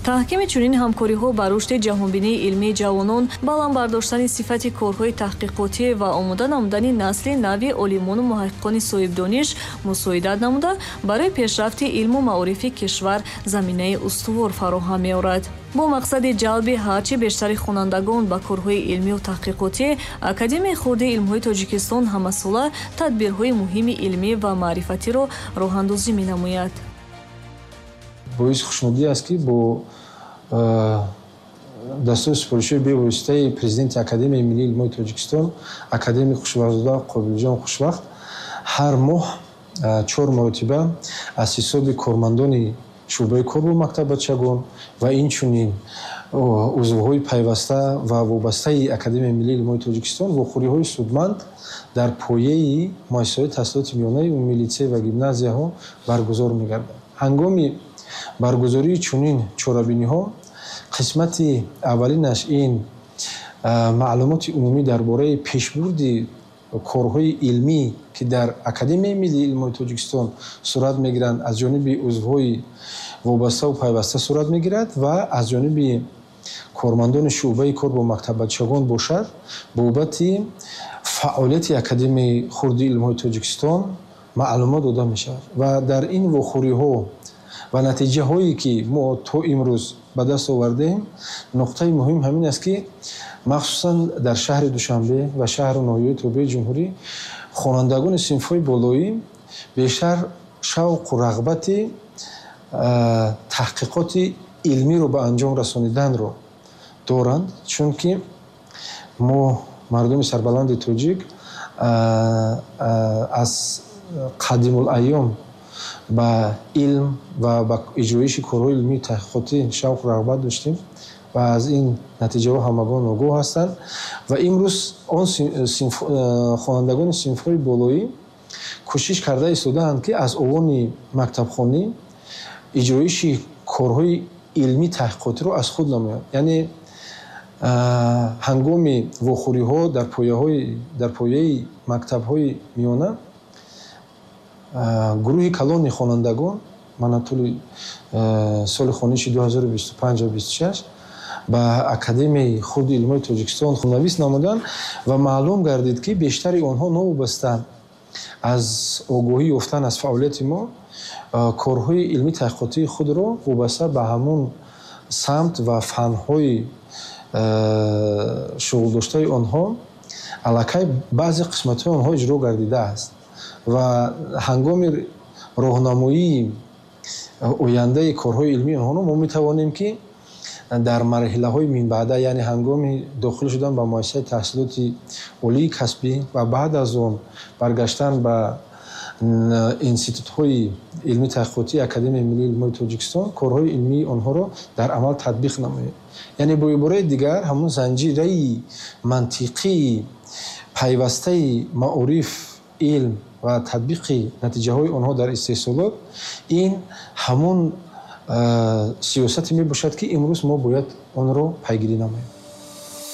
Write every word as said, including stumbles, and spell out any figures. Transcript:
Таҳкими чунин ҳамкориҳо ба рушди ҷаҳонбинии илмии ҷавонон, баланд бардоштани сифати корҳои таҳқиқотӣ ва омода намудани насли нави олимону муҳаққиқони соҳибдониш мусоидат намуда, барои пешрафти илму маорифи кишвар заминаи устувор фароҳам меорад. Бо мақсади ҷалби ҳарчи бештари хонандагон ба корҳои илмию таҳқиқотӣ, Академияи хурди илмҳои Тоҷикистон ҳамасола тадбирҳои муҳими илмӣ ва маърифатиро роҳандозӣ менамояд. Боиси хушнудӣ аст, ки бо дастури супоришҳои бевоситаи президенти Академияи миллии илмҳои Тоҷикистон, академик Хушбахтзода Қобилҷон Хушбахт, ҳар моҳ чор маротиба аз ҳисоби кормандони шӯъбаи кор бо мактаббачагон ва инчунин узвҳои пайваста ва вобастаи Академияи миллии илмҳои Тоҷикистон вохӯриҳои судманд дар пояи муассисаҳои таҳсилоти миёнаи умумӣ, литсей ва гимназияҳо баргузор мегардад. Ҳангоми баргузории чунин чорабиниҳо қисмати аввалинаш ин маълумоти умумӣ дар бораи пешбурди корҳои илмӣ, ки дар Академияи миллии илмҳои Тоҷикистон сурат мегиранд, аз ҷониби узвҳои вобаставу пайваста сурат мегирад ва аз ҷониби кормандони шӯъбаи кор бо мактаббачагон бошад, бобати фаъолияти Академияи хурди илмҳои Тоҷикистон маълумот дода мешавад. Ва дар ин вохӯриҳо ва натиҷаҳое, ки мо то имрӯз ба даст овардаем, нуқтаи муҳим ҳамин аст, ки махсусан дар шаҳри Душанбе ва шаҳру ноҳияҳои тобеи ҷумҳурӣ хонандагони синфҳои болоӣ бештар шавқу рағбати таҳқиқоти илмиро ба анҷом расониданро доранд, чунки мо, мардуми сарбаланди тоҷик, аз қадимулайём ба илм ва ба иҷроиши корҳои илмию таҳқиқотӣ шавқу рағбат доштем ва аз ин натиҷаҳо ҳамагон огоҳ ҳастанд. Ва имрӯз он хонандагони синфҳои болоӣ кӯшиш карда истодаанд, ки аз овони мактабхонӣ иҷроиши корҳои илмӣ таҳқиқотиро аз худ намоянд. Яъне ҳангоми вохӯриҳо дар пояҳои дар пояи мактабҳои миёна гурӯҳи калони хонандагон мана тӯли соли хониши ду ҳазору бисту панҷ ва бисту шаш ба Академияи хурди илмҳои Тоҷикистон хунавис намуданд ва маълум гардид, ки бештари онҳо новобаста аз огоҳӣ ёфтан аз фаъолияти мо корҳои илмӣ таҳқиқотии худро вобаста ба ҳамон самт ва фанҳои шуғлдоштаи онҳо аллакай баъзе қисматҳои онҳо иҷро гардидааст. Ва ҳангоми роҳнамоии ояндаи корҳои илмии онҳоро мо метавонем, ки дар марҳилаҳои минбаъда, яъне ҳангоми дохил шудан ба муассисаи таҳсилоти олии касбӣ ва баъд аз он баргаштан ба институтҳои илмӣ таҳқиқотии Академияи миллии илмҳои Тоҷикистон, корҳои илмии онҳоро дар амал татбиқ намоем. Яъне бо ибораи дигар, ҳамон занҷираи мантиқии пайвастаи маориф, илм ва татбиқи натиҷаҳои онҳо дар истеҳсолот ин ҳамон сиёсате мебошад, ки имрӯз мо бояд онро пайгирӣ намоем.